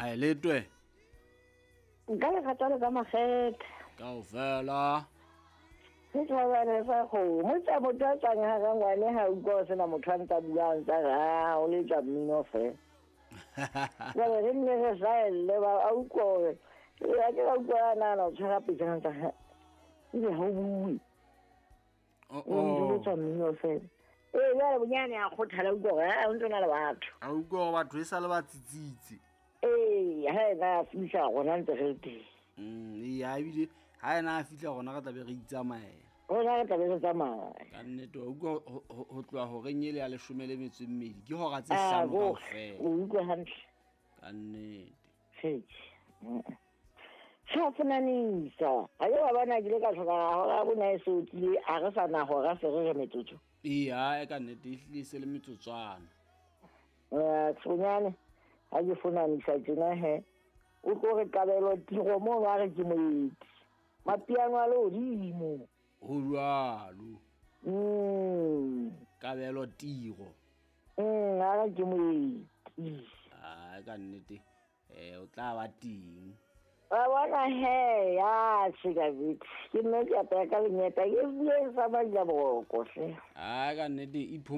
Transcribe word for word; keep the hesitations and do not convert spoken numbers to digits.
Ae letwe. Nka le kgathalo ka makgethe. Kaofela. Ke thabane sa kgomo tsa motho a tswang ha ka ngwane ha utlwa ho sena motho a ntsa buang tsa re a o letsa mmino fela. Jwale re nne re saelle ba a utlwa hore ee, a ke ka utlwa a nahana o tshwara pejana tsa ha ebe ha o bue. Oh, O ntse o oh. letsa mmino fela. Ee, jwale bonyane a kgothala utlwa hore ha o ntso na le batho. A utlwa hore batho e sa le ba tsitsitse. Ee, ha ena a fihla rona ntse re le teng. Mm, ee, ha ebile ha ena a fihla rona re tlabe re itsamaela. Rona re tlabe re tsamaya. Ka nnete wa utlwa ho- ho ho tloha horeng ele ya leshome le metso e mmedi ke hora tse Ah, hlano bo- kaofela. o utlwe hantle. Ka nnete. Tjhe. Sa fonanisa. Ha ke wa bona ke ile ka hloka hora bona e so tlile a re sa na hora se re re metsotso. Ee, ha ka nnete ehlile e se le metsotswana. Eh, tshonyane ha ke fonanisa tjena he. O tlo re kabelo tiro mo ba re ke moeti. Mapiano a lehodimo. Ho jwalo. Mm. Kabelo tiro. Mm, a re ke moeti. Ha ka nnete eh o tla ba teng. Wa bona he, ya tjhe ka bitse. Ke nna ke apaya ka lenyeta ke bueng sa majaboko hle. Ha ka nnete iphomo